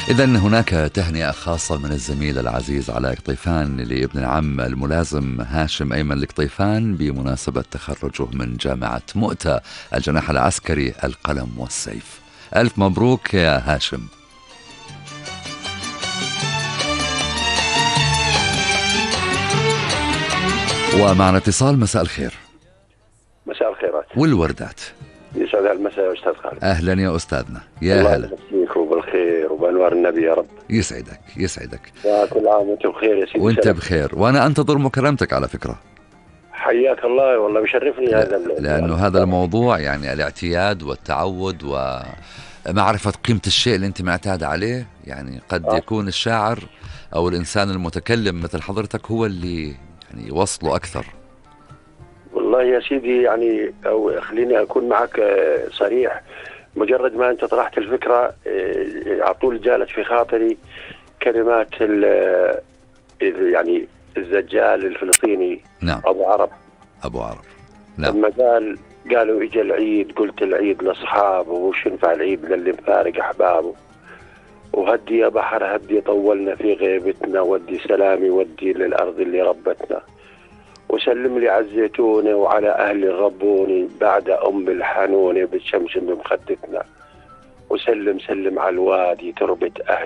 إذن هناك تهنئة خاصة من الزميل العزيز علاء قطيفان لابن العم الملازم هاشم أيمن القطيفان بمناسبة تخرجه من جامعة مؤتة الجناح العسكري القلم والسيف. ألف مبروك يا هاشم. ومعنا اتصال. مساء الخير. مساء الخيرات والوردات. يسعد المساء يا أستاذ خالد. أهلا يا أستاذنا. يا الله هلا. يمسيك وبالخير وبأنوار النبي يا رب. يسعدك يسعدك. كل عام وأنت بخير يا سيدي. وأنت بخير، وأنا أنتظر مكالمتك على فكرة. حياك الله، والله بشرفني هذا لأنه هذا الموضوع يعني الاعتياد والتعود ومعرفة قيمة الشيء اللي أنت معتاد عليه. يعني قد يكون الشاعر أو الإنسان المتكلم مثل حضرتك هو اللي يعني يوصله أكثر. والله يا سيدي، يعني أو خليني أكون معك صريح. مجرد ما أنت طرحت الفكرة على طول جالت في خاطري كلمات يعني الزجال الفلسطيني. نعم. أبو عرب. نعم. لما قالوا إجا العيد، قلت العيد لأصحابه وش ينفع العيد للي مفارق أحبابه، وهدي يا بحر هدي طولنا في غيبتنا، ودي سلامي ودي للأرض اللي ربتنا، وسلم لي على الزيتونة وعلى أهل ربوني بعد أم الحنونة بالشمس بمخدتنا، وسلم على الوادي تربة أهلي